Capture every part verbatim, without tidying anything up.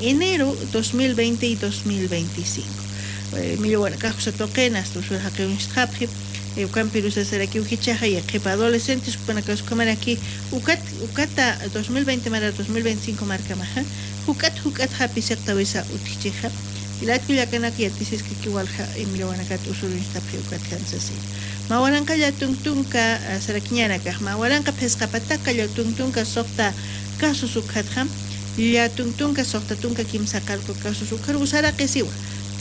Enero dos mil veinte y dos mil veinticinco. Millawanakax usa tuqin asta usur jaqiw uñstxapxi. Ukampirus sasarakiw jichhaxa yaqhipa adolescentes jupanakas ukhamaraki ukat ukata dos mil veinte mara dos mil veinticinco markamaxa juk'at juk'at japisiqtawisa utjchixa. Jilat kullakanak yatisiskakiw walja imillawanakat usur uñstapxi ukatjan sasina. Mä waranqa llatunk tunka sarakiñanakax mä waranqa phisqa pataka llatunk tunka suqta casos ukhatxa llatunk tunka suqta tunka kimsa qarqu casos ukharuw saraqisiwa.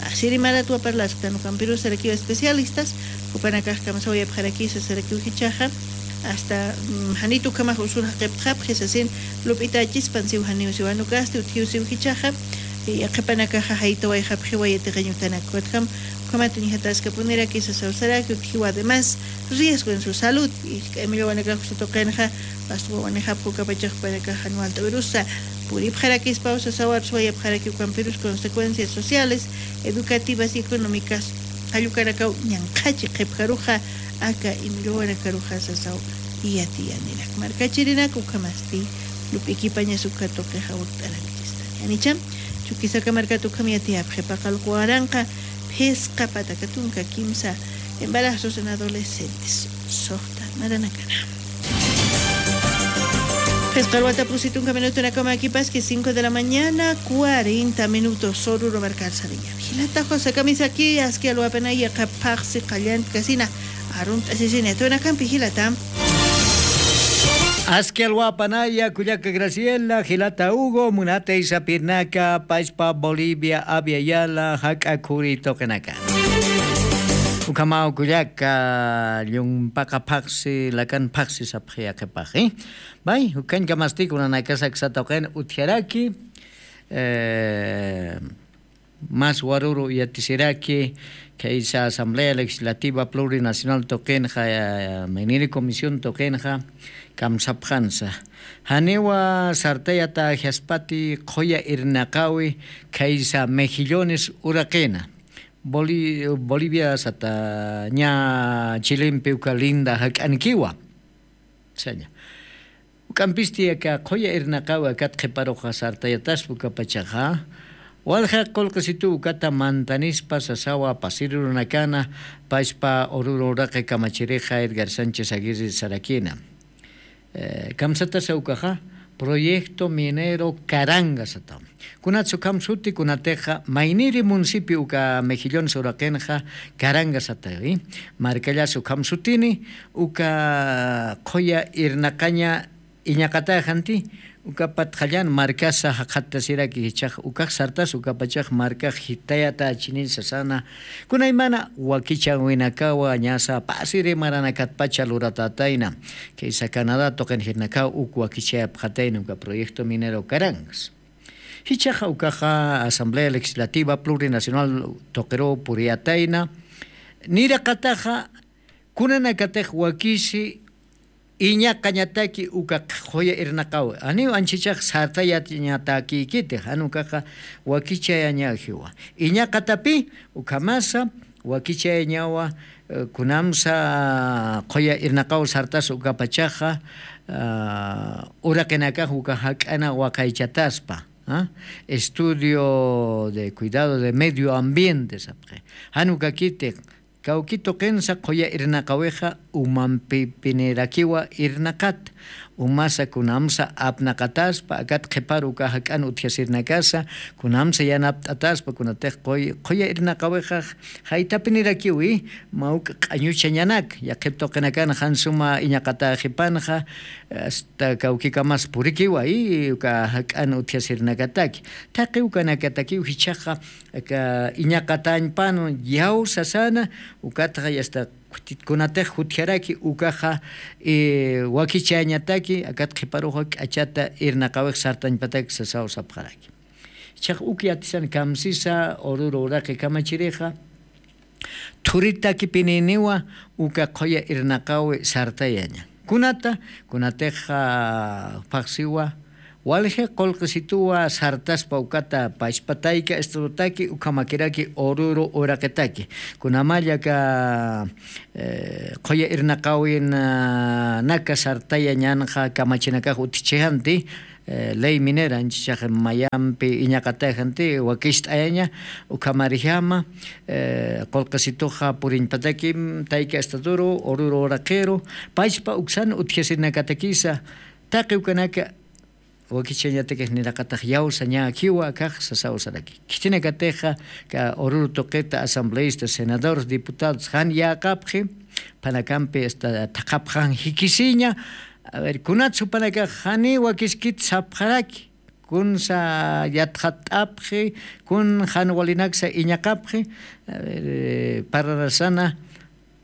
Pasiri maratwa parlasktan ukampirus sarakiwa especialistas jupanakax kamsawayapxarakisa sarakiw jichhaxa. Asta janit ukhamax usur jaqiptxapxi sasin lup'itachispan siw janiw siwanukasti utjiw siw jichhaxa. Yaqhipanakaxa jaytawayxapxiwa yatiqañ utanak ukatjam ukhamat uñjataskapuniraki sasaw saraki utjiwa además riesgo en su salud. Isk'ay millawanakax usa tuqinxa. Wawanixapxi ukapachax jupanakax jan walt'awirusa puripxarakispaw sasawarus wayapxaraki ukampirus consecuencias sociales educativas y económicas jallukanakaw ñanqhachi qhipjaruxa aka imilluwanakaruxa sasaw. Yatiyanirak markachirinak ukhamasti lup'ikipañas uka tuqixa wakt'arakchista. Yanicham chukisaka markat ukham yatiyapxi paqallqu waranqa phisqa pataka tunka kimsa embarazos en adolescentes suqta maranakana. Phisqa alwata pusi tunka minutunakamakipaski cinco de la mañana cuarenta minutos soruru markarsariña. Jilata josakamisaki aski alwapanaya qhaphaxsi qallantkasina. Arunt'asisini atunakampi jilata. Aski alwapanaya kullaka graciela jilata hugo munata isapirnaka pachpa bolivia aviayala jak'a khuri tuqinaka. Ukhamaw kullaka llumpaqaphaxsi lakanphaxsi sapxi yaqhipaxi. Bay ukañkamasti kunanakasaksa tuqin utjaraki. Mas waruru yatisiraki khaysa asamblea legislativa plurinacional tuqinxa mayniri comisión tuqinxa kamsapxansa. Janiwa sartayata ajiaspati qhuya irnaqawi khaysa mejillones uraqina bolivia sata ña chilimpi uka linda jak'ankiwa. Saña uk'ampisti aka qhuya irnaqawi akat qhiparuxa sartayataspa ukapachaxa walja qulqisitu ukata mantanispa sasawa pasirurunakana pachpa ururu uraqi kamachirixa edgar sánchez aguirri sarakina. Kamsatasa ukaxa proyecto minero caranga sataw. Kunatsa ukham suti kunatixa mayniri municipio uka mejillones uraqinxa caranga satawi. Markallasa ukham sutini uka qhuya irnaqaña iñaqataxanti. Uka patxallan markasa jaqhattasiraki jichhax ukax sartas ukapachax markax jitayatachini sasana. Kunaymana wakichawinakawa ñasa pasiri maranakatpacha luratatayna. Kaysa canadá tuqinjirnakaw uk wakichayapxatayna uka proyecto minero carangas. Jichhaxa ukaxa asamblea legislativa plurinacional tuqiruw puriyatayna. Niraqataxa kunanakatix wakisi iñaqañataki uka qhuya irnaqawi janiw anchichax sartayañatakikitix jan ukaxa wakichayañajiwa. Iñaqatapi ukhamasa wakichayañawa. Kunamsa qhuya irnaqaw sartas ukapachaxa uraqinakax uka jak'ana waqaychataspa estudio de cuidado de medio ambiente sapxi. Jan ukakitix kawki tuqinsa qhuya irnaqawixa umampipinirakiwa irnaqat umasa kunamsa apnaqataspa akat qhiparu uka jak'an utjasirnakasa kunamsa yanapt'ataspa kunatix qhuya irnaqawixa jaytapinirakiwi. Mawk q'añuchañanak yaqhip tuqinakan jan suma iñaqataxipanxa asta kawkikamas purikiwa y uka jak'an utjasirnakataki taqi ukanakatakiw jichhaxa aka iñaqatañpan yaw sasana ukatxa yasta kutitkunatix jutjaraki ukaxa wakichañataki akat qhiparuxa k'achata irnaqawix sartañpataki sasaw sapxaraki. Jichhax uk yatisan kamsisa ururu uraqi kamachirixa thuritakipininiwa uka qhuya irnaqawi sartayaña kunata kunatixa phaxsiwa walji qulqisituwa sartaspa ukata pachpatayka esturutaki ukhamakiraki ururu uraqitaki kunamallaka qhuya irnaqawinaka sartayañanxa kamachinakax utjichijanti. eh, ley minera, anchhax mayampi iñaqataxanti, wakicht'ayaña, ukhamarjama, eh, qullqisituxa puriñpatakim, tayka estaduru, Oruro uraqiru, pachpa uksan utjasinakatakisa, taqi ukanaka, wakichañatakix niraqatax yawsañäkiwa akax sasaw saraki. Khitinakatixa, ka Oruro tuqita asambleístas, senadores, diputados, jan yäqapxi, phanakampi hasta thaqhapxan jikisiña. A ver, kunats jupanakax janiw wakiskit sapxaraki, kunsa yatxatt'apxi, kun jan walinaksa iñaqapxi. A ver, eh, pararasana,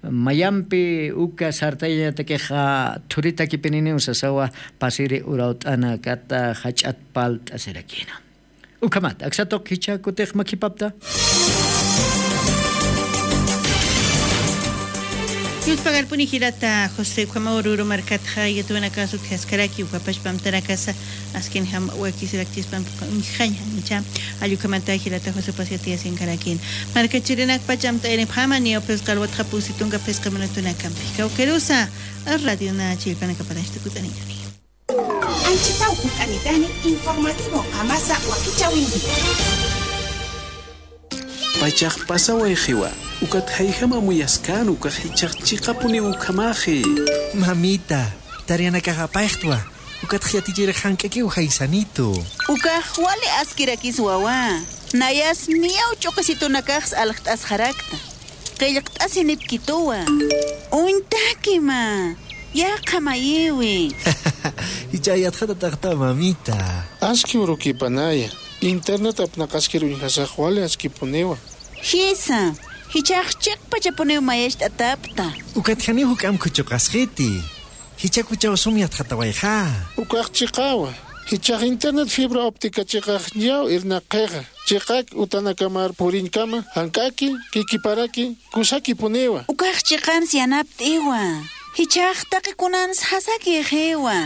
mayampi uka sartayañatakixa thuritakipininiw sasawa, pasiri urawt'ana kata jach'at palt'asirakina. Ukhamat, aksa tuq jichha kutix makhipapta. Yuspagarpuni jilata José, ukhama Oruro markatxa yatiyanakas utjaskaraki, uka pachpa amtanakasa askinjam wakisirakchispampi uñjaña, icha. Jall ukhamata jilata José, pasi yatiyasinkarakïn. Markachirinak pacham t'ayanipxama, niyaw phisqa alwatxa pusi tunka phisqa minutunakampi. Kawkirusa, Radio Nacha jilpanakaparanchta kut'anitani. Anchhitaw kut'anitani, informativo qamasa wakichäwinki. Pachax pasawayxiwa, ukat jayjam amuyaskäna, ukax jichhax chiqapuniw ukhamaxi. Mamita, tareanakax apayxtwa, ukatx yatichirix jank'akiw jaysanitu. Ukax wali askirakis wawa, nayas niyaw ch'uqisitunakax aljt'asxarakta. Qillqt'asinipkituwa. Uñtaki mä, yaqha mayiwi. Jichha yatxatatxta, mamita. Aski urukipanaya. Internet apnaqaskir uñjasax wali askipuniwa. Jisa, jichhax chiqpachapuniw mayacht'atapta. Ukat janiw juk'amp khuchuqasxiti. Jichhakuchaw sum yatxatawayxa. Ukax chiqawa. Jichhax internet fibra óptica chiqax niyaw irnaqxixa. Chiqak utanakamar puriñkama, jank'aki, kikiparaki, kusakipuniwa. Ukax chiqans yanapt'iwa. Jichhax taqi kunans jasakixiwa.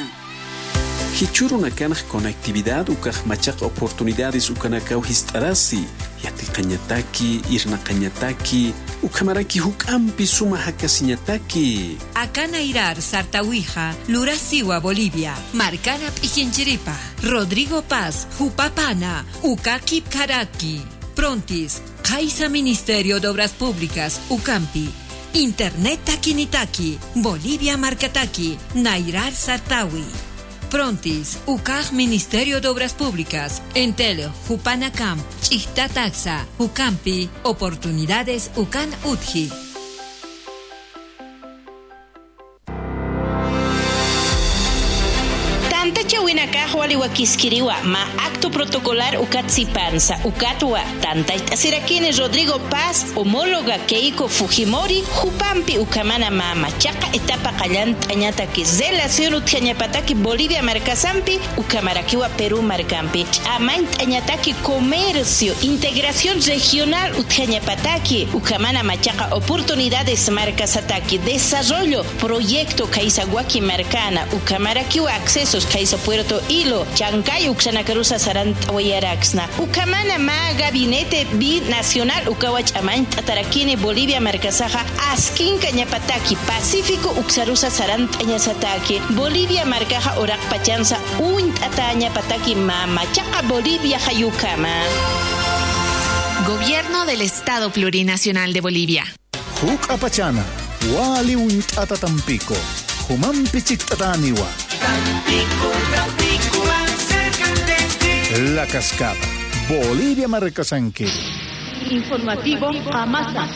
Jichhürunakanx conectividad ukax machaq oportunidades ukanakaw jist'arasi, yatiqañataki, irnaqañataki, ukhamaraki juk'ampi suma jakasiñataki. Aka nayrar sartäwixa lurasiwa Bolivia, markana p'ikinchiripa, Rodrigo Paz, jupapana, uka kipkharaki. Prontis, qhaysa Ministerio de Obras Públicas, ukampi. Internet takinitaki, Bolivia markataki, nayrar sartäwi. Prontis, ukax Ministerio de Obras Públicas, Entel, jupanakamp, ch'ijtataksa, jukampi, oportunidades ukan utji. Tantachäwinakax wali wakiskiriwa, mä acto protocolar ukat sipansa, ukatwa, tantachasirakini Rodrigo Paz, homóloga Keiko Fujimori, jupampi ukhamana mä machaqa etapa qallant'añataki, relación utjañapataki Bolivia markasampi, ukhamarakiwa Perú markampi, ch'amañt'añataki comercio, integración regional utjañapataki, ukhamana machaqa oportunidades markasataki, desarrollo, proyecto khaysa waki markana, ukhamarakiwa accesos khaysa Puerto Hilo, Chancay uksanakarusa sarant'awayaraksna. Ukhamana mä gabinete binacional ukawa ch'amañt'atarakini Bolivia markasaxa askinkañapataki, Pacífico uksarusa sarant'añasataki, Bolivia markaxa uraqpachansa uñt'atäñapataki mä machaqa Bolivia jayukama. Gobierno del Estado Plurinacional de Bolivia. Juk'apachana, wali uñt'ata Tampico, jumampi chikt'atäniwa. Tampico, Tampico, más cerca de ti. La Cascada, Bolivia markasankiri. Informativo Qamasa.